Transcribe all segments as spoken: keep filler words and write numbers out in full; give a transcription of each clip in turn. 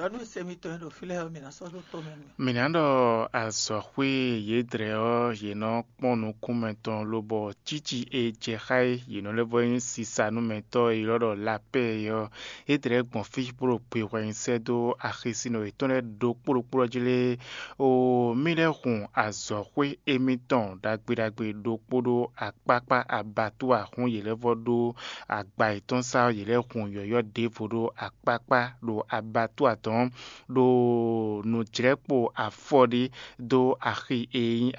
Aɖu se mitɔn e ɖo fí lɛ́ɛ ɔ́, mǐ ná sɔ́ ɖó tɔ́ mɛ nú mì. Mǐ ná ɖɔ azɔ̌xwé yědrɛ ɔ́, yě nɔ kpɔ́n nukúnmɛ tɔn lobɔ cíci e jɛ xá é, yě nɔ lɛ́ vɔ nyí sisanúmɛtɔ́ e ylɔ́ ɖɔ lapɛ́ é ɔ́, yědrɛ gbɔn fí bó ɖo gbe hwɛ nyi sɛ́ dó axisínɔ yětɔn lɛ́ɛ ɖokpó ɖokpó ɔ́ jí lé. O mì lɛ́ hun azɔ̌xwé émítɔn ɖagbe ɖagbe ɖokpó ɖó akpákpá abatúwa hún yě lɛ́ vɔ ɖó agba yětɔn sá ɔ́, yě lɛ́ hun yɔ̌yɔ́ ɖěvo ɖó akpákpá ɖo abatúwa tɔn, ɖo nǔjlɛ́kpo afɔ ɖé dó axi e nyí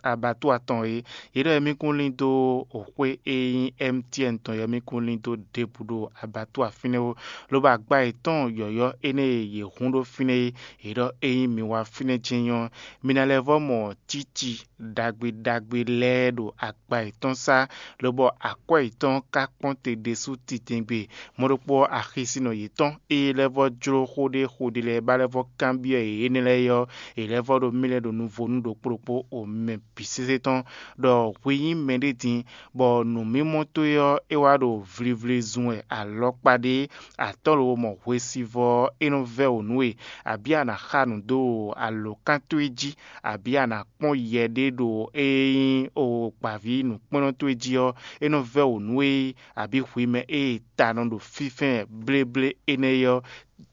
abatúwa tɔn é. Yě ɖɔ émí kún lín dó xwé e nyí M T N tɔn é, émí kún lín dó ɖěbǔ ɖo abatúwa fínɛ́ ó, lobo agba yětɔn yɔ̌yɔ́ énɛ́ e yě hun ɖó fínɛ́ é, yě ɖɔ ényí mi wá fínɛ́ jɛ́n nyɔ́, mi ná lɛ́ vɔ́ mɔ cíci ɖagbe ɖagbe lɛ́ɛ ɖo agba yětɔn sá, lobɔ akwɛ́ yětɔn ka kpɔ́n te ɖésú titɛngbe. Mɔ̌ ɖokpó ɔ́, axisínɔ yětɔn e lɛ́ vɔ́ jló xó ɖé xó ɖé lɛ́ɛ ba lɛ́ vɔ́ kanbyɔ́ yě énɛ́ lɛ́ɛ é ɔ́, è lɛ́ vɔ́ ɖo mì lɛ́ɛ ɖo nuvo nú ɖokpó ɖokpó o mɛ bǐ sésé tɔn, ɖɔ hwi nyí mɛɖé din, bɔ nǔmimɔ towe ɔ́, é wá ɖo vlivli zun wɛ alɔkpa ɖé, atɔ́ lobo mɔ hwesivɔ́ ɔ́, é nɔ vɛ́ wǒ nú we, abǐ a nǎ xa nǔ dó alǒkan towe jí, abǐ a nǎ kpɔ́n yɛ ɖé ɖo e nyí o gbǎví nǔkplɔ́nnɔ towe jí ɔ́, é nɔ vɛ́ wǒ nú we, abǐ hwi mɛ e ta nɔ ɖo fínfɛ́n bléblé énɛ́ é ɔ́,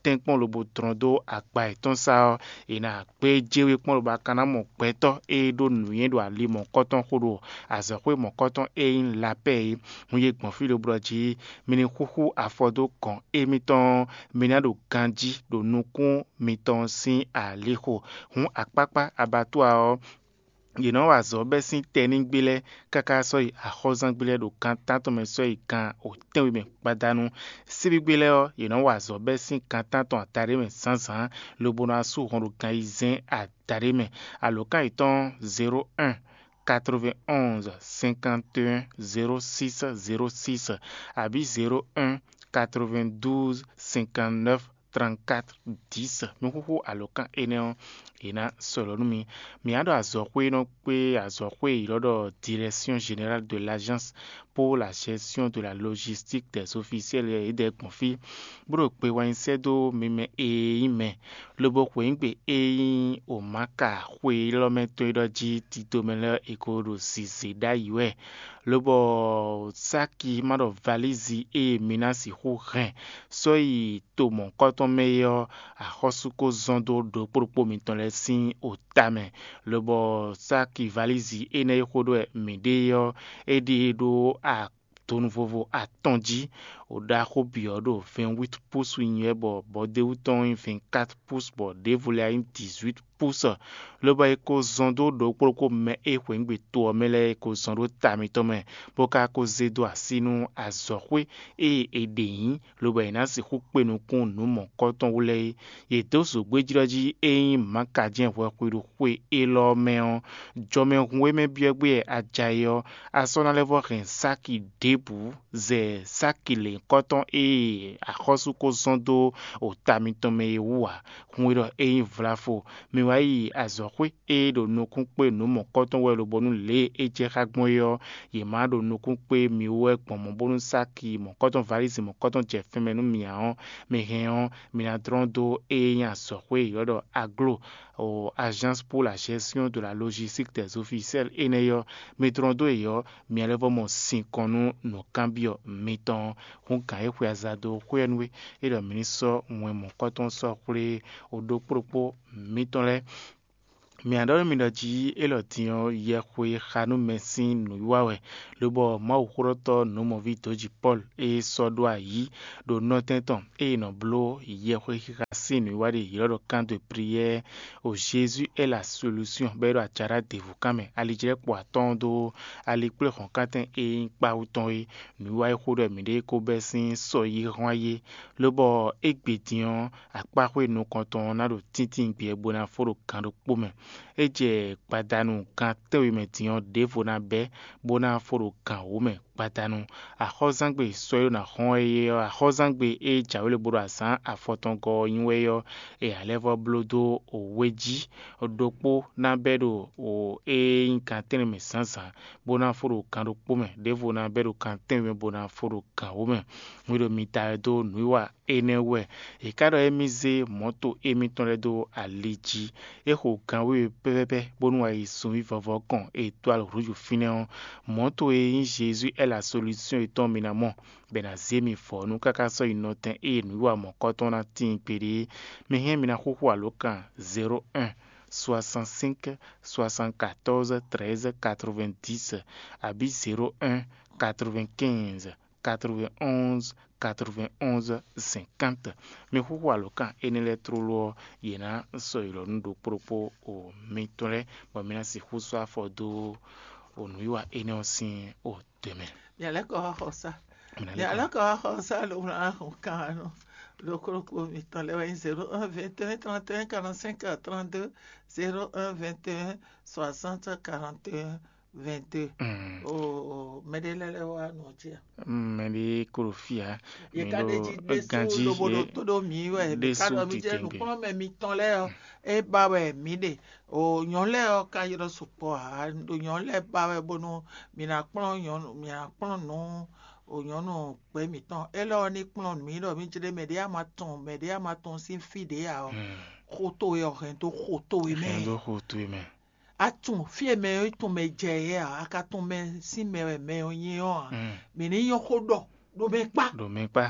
tɛ́nkpɔ́n lobo dlɔ́n dó agba yětɔn sá ɔ́, è nǎ gbéjé we kpɔ́n lobo a ka ná mɔ gbɛtɔ́ e ɖó nǔnywɛ́ ɖo ali mɔ̌kɔtɔn xo ɖo azɔ̌xwé mɔ̌kɔtɔn e nyí lapɛ́ é. Hun yě gbɔn fí lobo ɖɔ jí mi ní xúxú afɔ dó gɔ̌n émítɔn, mi ná ɖo ganjí ɖo nukún mitɔn sín alixo. Hǔn akpákpá abatúwa ɔ́, yě nɔ wa azɔ̌ bɛ́ sín tɛnígbe lɛ́ɛ káká sɔ́ yi axɔ́zángbé lɛ́ɛ ɖo gan tántɔn mɛ sɔ́ yi gan tɛ́nwe mɛ gbadanu. Síbígbe lɛ́ɛ ɔ́, yě nɔ wa azɔ̌ bɛ́ sín gan tántɔn adaɖé mɛ zǎnzǎn, lobo nɔ wá sú hɔn ɖo gan ayizɛ́n adaɖé mɛ. Alǒkan yětɔn zéro un quatre-vingt-onze cinquante et un zéro six zéro six abǐ zéro un quatre-vingt-douze cinquante-neuf trente-quatre dix. Nǔxúxú alǒkan énɛ́ ɔ́, è nǎ sɔlɔ̌ nú mi. Mǐ á ɖɔ azɔ̌xwé e nɔ kpé azɔ̌xwé e ylɔ́ ɖɔ Direction Générale de l'Agence pour la Gestion de la Logistique des Officiels é ɖɛ̌ gbɔn fí, bó ɖo gbe wá nyi sɛ́ dó mi mɛ e nyí mɛ, lobo xweyǐgbe e nyí Omaka xwe élɔ́ mɛ tɔn é ɖɔ jí tito mɛ lɛ́ɛ è ko ɖo zǐzé ɖ'ayǐ wɛ, lobɔ sáki ma ɖɔ valízi e mi ná sixú hɛn sɔ́ yi to mɔ̌hunkɔtɔn mɛ é ɔ́, axɔ́sú ko zɔ́n dó ɖokpó ɖokpó mitɔn lɛ́ɛ sín ota mɛ, lobɔ sáki valízi énɛ́ e xó ɖɔ wɛ mǐ ɖe é ɔ́, é ɖe ɖó donu vovo atɔn jí. Wǒ ɖaxó bǐ ɔ́ ɖo vɛ̌nwít púsu nyi wɛ, bɔ bɔdéwú tɔn nyí vɛ̌nkát púsu, bɔ ɖěvo lɛ́ɛ nyí dǐzwít púsu. Lobɔ è ko zɔn dó ɖokpó ɖokpó mɛ e xweyǐgbe to ɔ́ mɛ lɛ́ɛ è ko zɔn ɖó ta mitɔn mɛ, bó ka ko zé dó así nú azɔ̌xwé e è ɖe nyǐ, lobɔ è nǎ sixú kpe nukún nǔ mɔ̌kɔtɔn wú lɛ́ɛ é. Yě dó zǒgbéjlɔ́ jí e nyí mǎkajɛ́n hwɛxwe ɖo xwe élɔ́ mɛ ɔ́, jɔmɛhun e mɛ byɔ́ gbé wɛ a ja é ɔ́, a sɔ́ ná lɛ́ vɔ́ hɛn sáki ɖěbǔ zɛ sáki lěhunkɔtɔn e axɔ́sú ko zɔ́n dó ota mitɔn mɛ é wú ǎ. Hun e ɖɔ é nyí vlafo, mi wá yi azɔ̌xwé e ɖo nukún kpé nǔ mɔ̌kɔtɔn wɛ lobonu lě e é jɛ xá gbɔn é ɔ́, yě má ɖo nukún kpé mi wú wɛ gbɔn mɔ̌ bónú sáki mɔ̌kɔtɔn valízi mɔ̌kɔtɔn jɛ fɛn mɛ nú mi ǎ ɔ́, mi hɛn ɔ́, mi ná dlɔ́n dó e nyí azɔ̌xwé e ylɔ́ ɖɔ aglo o Agence pour la Gestion de la Logistique des Officiels énɛ́ ɔ́, mi dlɔ́n dó yě ɔ́, mi ná lɛ́ vɔ́ mɔ sinkɔn nú nǔkanbyɔ́ mitɔn. Hǔn gǎn e xwe aza dó xwé ɔ́ nú we, é ɖɔ mǐ ní sɔ́ wɛn mɔ̌kɔtɔn sɔ́ xwlé o ɖokpó ɖokpó mitɔn lɛ́ɛ. Mǐ ná ɖɔ nú mi ɖɔ jí élɔ́ din ɔ́, yɛxwe e xa nú mɛ sín nǔwiwa wɛ, lobɔ Mawuxóɖɔtɔ́ nǔmɔví dǒjí Pɔ́lu e sɔ́ ɖó ayǐ ɖo nɔtɛn tɔn e è nɔ bló yɛxwe xixa sín nǔwiwa ɖe ylɔ́ ɖɔ kan de priyɛ́ɛ o Jésus est la solution bɔ é ɖo ajaɖá ɖěvo kan mɛ, alijlɛ́kpo atɔ́ɔ́n dó alikpléhɔ̌nkántɛn e nyí kpáwú tɔn é. Nǔwiwa e xó ɖɔ mǐɖée ko bɛ́ sín sɔ yi hɔn ayé, lobɔ égbé din ɔ́, akpáxwé nukɔntɔn ɔ́ ná ɖo tíntín gbɛ bó ná fó ɖo gan ɖokpó mɛ. É jɛ gbadanu gan tɛ́nwe mɛ din ɔ́, ɖěvo ná bɛ́, bó ná fó ɖo gan wǒ mɛ gbadanu. Axɔ́zangbe sɔ́ e ɖo ná xɔ́n wɛ é ɔ́, axɔ́zangbe e jǎwe lě bo ɖo azǎn afɔtɔngɔ́ ɔ́ nyi wɛ é ɔ́, è nǎ lɛ́ vɔ́ bló dó wě jí. Ɖokpó ná bɛ́ ɖo é nyí gan tɛ́nnɛ mɛ zǎnzǎn, bó ná fó ɖo gan ɖokpó mɛ, ɖěvo ná bɛ́ ɖo gan tɛ́nwe mɛ, bó ná fó ɖo gan wǒ mɛ. Mi ɖo mi da wɛ dó nǔwiwa énɛ́ wú wɛ. È ká ɖɔ émí zé mɔ̌to émítɔn lɛ́ɛ dó ali jí. É xo gan wěwe pɛ́pɛ́pɛ́ bónú wá yi sunví vɔvɔ kɔn e dó alɔ hǔlúju fínɛ́ ɔ́, mɔ̌to e nyí Jezu ɛ́ la solúsyɔn yětɔn mi ná mɔ, bɔ è nǎ zé mi vɔ̌nu káká sɔ́ yi nɔtɛn ée nǔwiwa mɔ̌kɔtɔn ná tíin kpeɖé é. Mi hɛn mi ná xúxú alǒkan zéro un, soixante-cinq, soixante-quatorze, treize, quatre-vingt-dix, abǐ zéro un, quatre-vingt-quinze, quatre-vingt-onze, quatre-vingt-onze, cinquante. Mi xúxú alǒkan énɛ́ lɛ́ɛ tlóló ɔ́, yě ná sɔ́ yi lɔ nú ɖokpó ɖokpó o mitɔn lɛ́ɛ, bɔ mi ná sixú sɔ́ afɔ dó o nǔwiwa énɛ́ ɔ́ sín o dɔ̌ mɛ. Mǐ lɛ́ kɔ wá xɔ sá. Mǐ ná Mǐ lɛ́ kɔ lɛ́ kɔ wá xɔ sá lǒ ná hɔn kan nɔ ɖokpó ɖokpó mitɔn lɛ́ɛ wɛ nyí zéro un vingt et un trente et un quarante-cinq trente-deux, zéro un vingt et un soixante quarante et un vingt-deux. Mm. O mɛɖé lɛ́ɛ lɛ́ wá nɔ jí a? Mm, mɛɖé kó ɖo fí ǎ. Yě Mi ká ɖo ɖe jí ɖésú ganjí lobo ɖo yé tó ɖó mǐ wɛ mǐ ká ɖésú ɖɔ mí jɛ kikengbe. Nǔkplɔ́nmɛ mitɔn lɛ́ɛ ɔ́, é ba wɛ mǐ ɖe. O nyɔ̌nu lɛ́ɛ ɔ́ ka ylɔ́ sukpɔ́ ǎ, ɖo nyɔ̌nu lɛ́ɛ ba wɛ bónú mǐ ná kplɔ́n nyɔ̌nu mǐ ná kplɔ́n nǔ o nyɔ̌nu gbɛ̌ mǐtɔn élɔ́ ɔ́ ní kplɔ́n mǐ ɖɔ mí jlé mɛɖé a ma tunwun mɛɖé a ma tunwun sín fí ɖě ǎ ɔ́, Mm. Xó towe ɔ́ hɛn dó xó towe mɛ. Hɛn dó xo towe mɛ. A tunwun fí e mɛ ɔ́ tunwun mɛ jɛ é ǎ, a ka tunwun mɛ sín mɛ wɛ mɛ ɔ́ nyí ɔ́ ǎ. Mm. Mǐ ní nyɔ́ xó ɖɔ ɖo mɛ kpá. Ɖo mɛ kpá.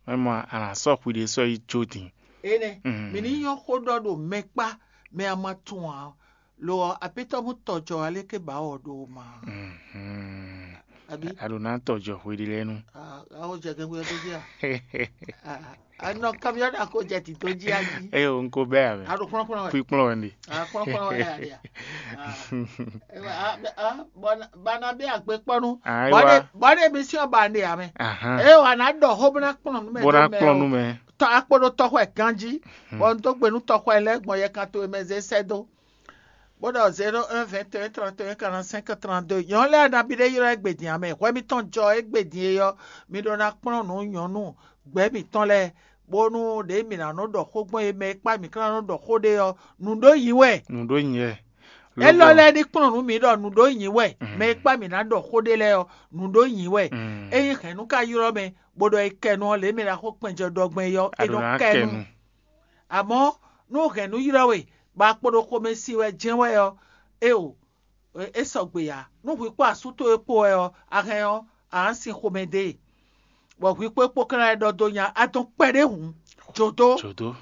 Mɛ mɔ a nǎ sɔ́ xwi ɖé sɔ́ yi jó din. Énɛ́, Mm. Mǐ ní nyɔ́ xó ɖɔ ɖo mɛ kpá, mɛ a ma tunwun ǎ. Lo ɔ́, apítɔ́ mú tɔjɔ aléké ba wɔ ɖo ma. Mhm. Abí? A ɖo ná tɔjɔ xwe ɖé lɛ́ɛ nu. A ó jɛ gɛ́gbɛ́ dó jí a? A nɔ kamiɔ́ ɖa ko jɛ tito jí a jí. Eye o, n ko bɛ ya mɛ. A ɖo kplɔ́nkplɔ́n wɛ. Kpikplɔ́n wɛ ndi. A kplɔ́nkplɔ́n wɛ ya ɖia. Bana bɛ agbe kpɔnu. Ayiwa. Bɔne bɔne emission ba ne ya mɛ. Ahan. Eye wa na ɖɔ xó bena kplɔn nu mɛ. Bó ná kplɔn nu mɛ. Tɔ akpo ɖo tɔxɔ ɛ ganji. Hmm. Bɔ n dó gbe nú tɔxɔ ɛ lɛ gbɔn yɛ kan to e mɛ zé sɛ dó. Bó ɖɔ zéro un vingt et un trente et un quarante-cinq trente-deux. Nyɔ̌nu lɛ́ɛ nabí ɖé ylɔ́ égbedin ǎ mɛ. Hwɛ mitɔn jɔ égbedin e ɔ́, mi ɖó ná kplɔ́n nǔ nyɔ̌nu gbɛ̌ mǐtɔn lɛ́ɛ, bónú ɖě mǐ ná nɔ ɖɔ xó gbɔn é mɛ e kpá mǐ ká ná nɔ ɖɔ xó ɖé ɔ́, nǔ ɖó nyi wɛ. Nǔ ɖó nyi wɛ. Élɔ́ lɛ́ɛ ní kplɔ́n nǔ mǐ ɖɔ nǔ ɖó nyi wɛ. Mm. Mɛ e kpá mǐ ná ɖɔ xó ɖé lɛ́ɛ ɔ́, nǔ ɖó nyi wɛ. Mm. Ényí hɛ̌nnu ka ylɔ́ mɛ, bó ɖɔ é kɛ nu ɔ́, lě mɛ ɖaxó kpɛnjɔ ɖɔ gbɔn é ɔ́, é nɔ kɛ nu. Amɔ̌, nú hɛ̌nnu ylɔ́ we, bɔ a kpo ɖo xomɛ sin wɛ jɛ́n wɛ ɔ́, éeǒ, é sɔgbe ǎ. Nú hwi kpó asú towe kpó wɛ ɔ́, a hɛn ɔ́, a nǎ sin xomɛ dó e. Bɔ hwi kpó é kpó ka ná ɖɔ dó nya, a dɔn kpɛɖé hǔn jǒdó. Jǒdó.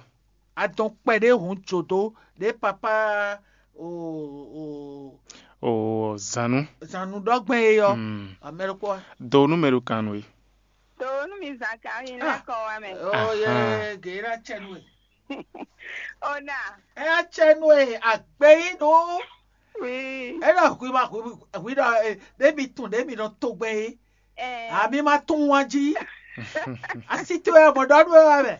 A dɔn kpɛɖé hǔn jǒdó ɖě papá o o O zǎnnu. Zǎnnu ɖɔ gbɛn e ɔ́. Mm. Amɛɖokpɔ. Do nú mɛ ɖo kan nú we. Do nú mi zan kan mi lɛ kɔ wa mɛ. O ye Aha. Geyira cɛ nú e. Ona. Ɛ cɛ nú e agbe yi nú. Oui. Ɛ ɖɔ hwi ma hwi hwi ɖɔ e ɖe mi tun ɖe mi nɔ to gbɛ yi. Eh. Ami ma tun wa jí. Asi to ɛ mɔ ɖɔ nú e wa mɛ.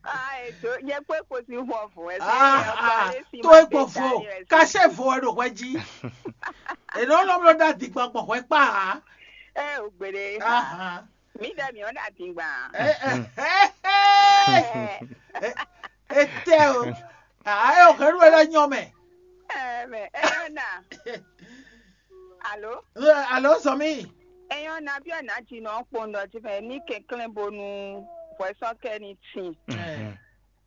Ah, ètò yẹ pé kò sí wọn fún ẹ. Ah, ah, tó é gbọ́ fún ọ, kàṣẹ fún ẹ ló wẹ́ jí. Èló ló ló dá dìgbà gbọ̀ wẹ́ pa á. Ẹ ò gbèrè. Aha. Mi dẹ mi ò dá dìgbà. Ẹ ẹ ẹ ẹ ẹ tẹ o. Ayé ò kẹrù ẹ lọ nyọ mẹ. Ẹ mẹ ẹ yọ nà. Alo? Alo, sɔmi. Eyɔn na biɔ na dzi nɔ kpɔn dɔ dzi mɛ ní kɛnklɛn bonu hwɛsɔn kɛ ní tin. Mhm.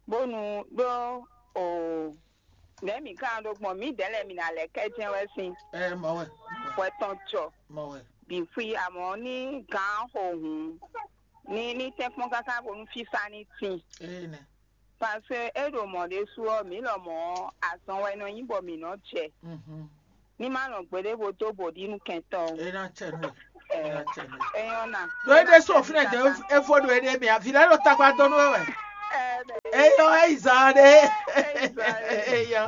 Bonu ɖó o nɛ mi kan ɖo gbɔn mi dɛ lɛ mi na lɛ kɛ jɛn wɛ sin. Ɛ mɔ wɛ. Hwɛ tɔn jɔ. Mɔ wɛ. Bi fui amɔ ní gan xo hun ní ní tɛnkpɔn káká bonu fífá ní tin. Ee nɛ. Parce que é ɖo mɔ̌ ɖésú ɔ́, mǐ lɔmɔ̌ ɔ́, azɔn wɛ nɔ nyí bɔ mǐ nɔ jɛ. Mhm. Ní má nɔ gbeɖé bo dó bǒ ɖi nú kɛntɔ́ ó. É ná cɛ nú we. É ná cɛ nú we. É nyɔ́ ná. Ɖó é ɖésú òfin ẹ̀ jẹ́ é fó ɖo éɖée mɛ, avǐ lɛ́ɛ ɖo takpa dó nú we wɛ. Ɛ, É yɔ é yi zan ɖé. É yi zan ɖé. É yɔ.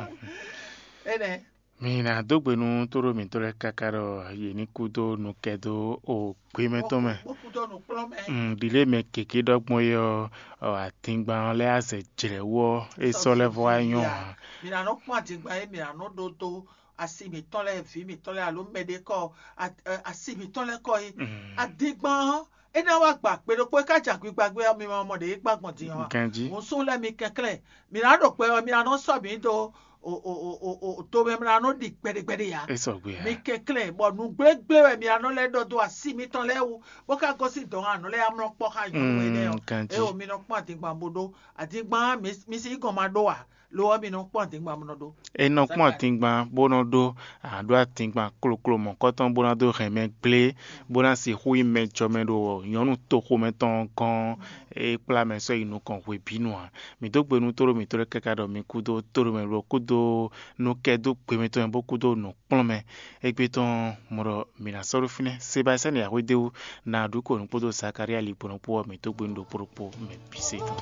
Énɛ́. Mi ná dó gbe nú tóɖó mǐtɔn lɛ́ɛ káká ɖɔ yě ní kú dó nukɛ́ dó o gbé mɛ tɔn mɛ. Kpókpódó nukplɔ́nmɛ. Mm, ɖi lě mɛ gěgé ɖɔ gbɔn é ɔ́, ɔ, adingban ɔ́ lɛ́ azɛ jlɛ̌ wú ɔ́, é sɔ́ lɛ́ vɔ wá nyɔ́ ǎ. Mi ná nɔ kpɔ́n adingban e mi ná nɔ ɖó dó asi mǐtɔn lɛ́ɛ, vǐ mǐtɔn lɛ́ɛ alo mɛɖé kɔ, a- ɛ, asi mǐtɔn lɛ́ɛ kɔ é. Mm. Adingban ɔ́, é ná wá gba gbe ɖokpó é ká jɛ agbigba gbé ɔ́, mi ma mɔ ɖě é gbá gbɔn din ɔ́ ǎ. Ganjí. Hǔn sú lɛ́ɛ mi kɛnklɛ́n, mi ná ɖo kpɛ ɔ́, mi ná nɔ sɔ́ mǐ dó o o o o o to mɛ mlá nɔ ɖi gbɛɖegbɛɖe ǎ. É sɔgbe ǎ. Mi kɛnklɛ́n bɔ nǔgblégblé wɛ mi anɔ lɛ́ ɖɔ dó así mitɔn lɛ́ɛ wú, bó ka gosín dɔ̌n anɔ lɛ́ɛ amlɔ kpɔ́ xá nyɔ̌nu énɛ́ ɔ́. Ganjí. Ée o mi nɔ kpɔ́n adingban bó ɖó adingban ɔ́, mi mi sí gɔn ma ɖó ǎ, lo ɔ́ mi nɔ kpɔ́n adingban bó nɔ ɖó. É nɔ kpɔ́n adingban bó nɔ ɖó, àɖó adingban kloklo mɔ̌kɔtɔn bó ná dó hɛn mɛ gblé, bó ná sixú nyí mɛ jɔmɛ ɖo nyɔ̌nu toxomɛ tɔn gɔ́n, é kplá mɛ sɔ́ yi nukɔn hwebǐnu ǎ. Mǐ dó gbe nú tóɖó mǐtɔn lɛ́ɛ káká ɖɔ mi kúdó tóɖó mɛ lɔ kúdó nú kɛ dó gbe mǐtɔn mɛ bó kúdó nǔkplɔ́nmɛ. Égbé tɔn mɔ ɖɔ mǐ ná sɔ́ ɖó fínɛ́. Sebastiyani Axwédéwu ná ɖu kɔ nǔ kpódó Zakaria Ligbɔnɔ kpó ɔ́, mǐ dó gbe nú ɖokpó ɖokpó mɛ bǐ se tɔn.